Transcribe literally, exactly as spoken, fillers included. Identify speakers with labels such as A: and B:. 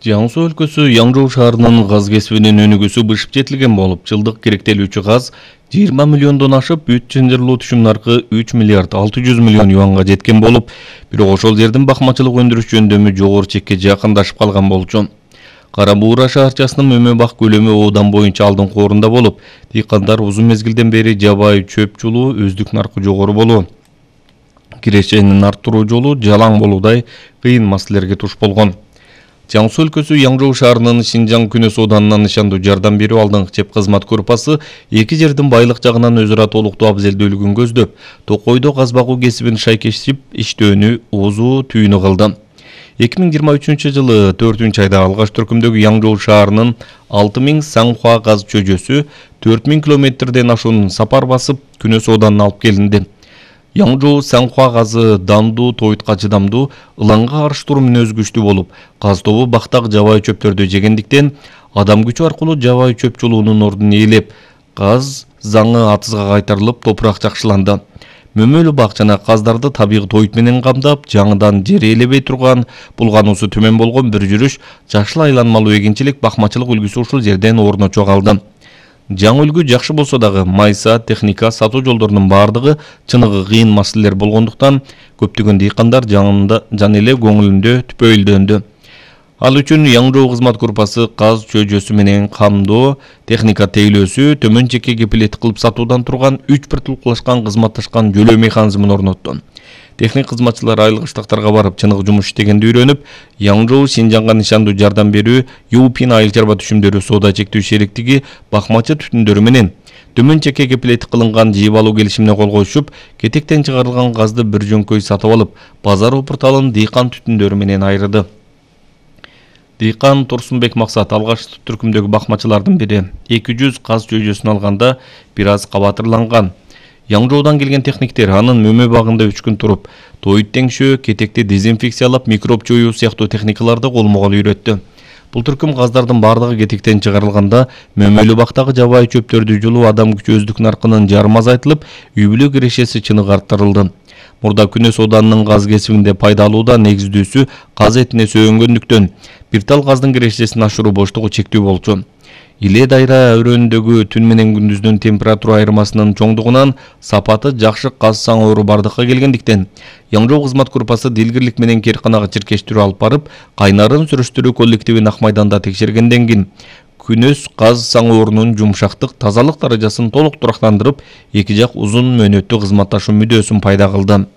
A: Жаңы Суу өлкөсү Яңжоо шаарынын газ кесибинин өнүгүүсү бышып жетилген болуп, жылдык керектелүүчү газ жыйырма миллиондон ашып, бүт чынжырлуу түшүм наркы үч миллиард алты жүз миллион юанга жеткен болуп, бирок ошол жердин бакмачылык өндүрүш жөндөмү жогору чекке жакындашып калган болчу. Кара Буура шаарчасынын мөмө бак көлөмү Одан боюнча алдыңкы орунда болуп, дыйкандар узун мезгилден бери жабай чөп чулуу өздүк наркы жогору болуу, кирешенин арттыруу жолу жалаң болуудай кыйын маселелерге туш болгон. Жаңы Суу өлкөсү Яңжоо шаарынын Шинжаң Күнөс Оданынан ышандуу жардам берүү алдыңкы чеп кызмат группасы эки жердин байлык жагынан өзү ара толуктуу абзелдүүлүгүн көздөп, Токойдо газ багуу кесибин шайкештип иштөөнү озу түйүнү кылды. эки миң жыйырма үчүнчү жылы төртүнчү айда алгаш төркүмдөгү Яңжоо шаарынын алты миң Саңхуа газ чөйжөсү төрт миң километрден ашуун сапар басып Күнөс Оданына алып келинди. Яңжоо Саңхуа газы дандуу, тойтка чыдамдуу, ылаңга каршы туруу мүнөзү күчтүү болуп, газ тобу бактак жабай чөптөрдү жегендиктен адам күчү аркылуу жабай чөп чулуунун ордун ээлеп, газ заңы атызга кайтарылып, топурак жакшыланды. Мөмөлүү бак жана газдарды табигый тойт менен камдап, жаңыдан жер ээлебей турган, булгануусу төмөн болгон бир жүрүш жакшыл айланмалуу эгинчилик бакмачылык үлгүсү ушул жерден орночо калды. Жаңы үлгү жакшы болсо дагы майса, техника, сатуу жолдорунун бардыгы чыныгы кыйын маселелер болгондуктан көптөгөн дыйкандар жаңында жан эле көңүлүндө түпөйүлдөндү. Ал үчүн Яңжоо кызмат группасы газ чөйжөсү менен камдоо, техника тейлөөсү, төмөн чекке кепилет кылып сатуудан турган үч бир тулкулашкан кызматташкан жөлөө механизмин орнотту. Техник кызматчылар айылык штаттарга барып чыныгы жумуш иштегенди үйрөнүп, Яңжоо Шинжаңга нишандуу жардам берүү Юпин айыл чарба түшүмдөрү соода чектөө шериктиги бакмачы түтүндөрү менен төмөн чекке кепилет кылынган жыйып алуу келишимине кол коюшуп, кетектен чыгарылган газды бир жөнкөй сатып алып, базар опурталын дыйкан түтүндөрү менен айырды. Дыйкан Турсунбек Максат алгаш түркүмдөгү бакмачылардын бири. эки жүз газ чөйжөсүн алганда бир аз кабатырланган. Яңжоодан келген техниктер анын мөмө багында үч күн туруп, тойт теңшөө, кетекти дезинфекциялап, микроб жоюу сыяктуу техникаларды колмо-кол үйрөттү. Бул түркүм газдардын бардыгы кетектен чыгарылганда, мөмөлүү бактагы жабай чөптөрдү жулуу адам күчү өздүк наркынын жарым азайтылып, үй бүлө кирешеси чыныгы арттырылды. Мурда Күнөс Оданынын газ кесибинде пайда алууда негиздүүсү газ этине сөөнгөндүктөн, бир тал газдын кирешесин ашыруу боштугу чектүү болчу. Иле дайра өрөөнүндөгү түн менен күндүздүн температура айырмасынын чоңдугунан сапаты жакшы газ саңоору бардыкка келгендиктен, Яңжоо кызмат группасы дилгирлик менен Керканага чиркештирүү алып барып, кайнарын сүрүштүрүү коллективин Ак майданда текшергенден кийин Күнөс газ саңоорунун жумшактык, тазалык даражасын толук турактандырып, эки жак узун мөөнөттүү кызматташуу мүдөөсүн пайда кылды.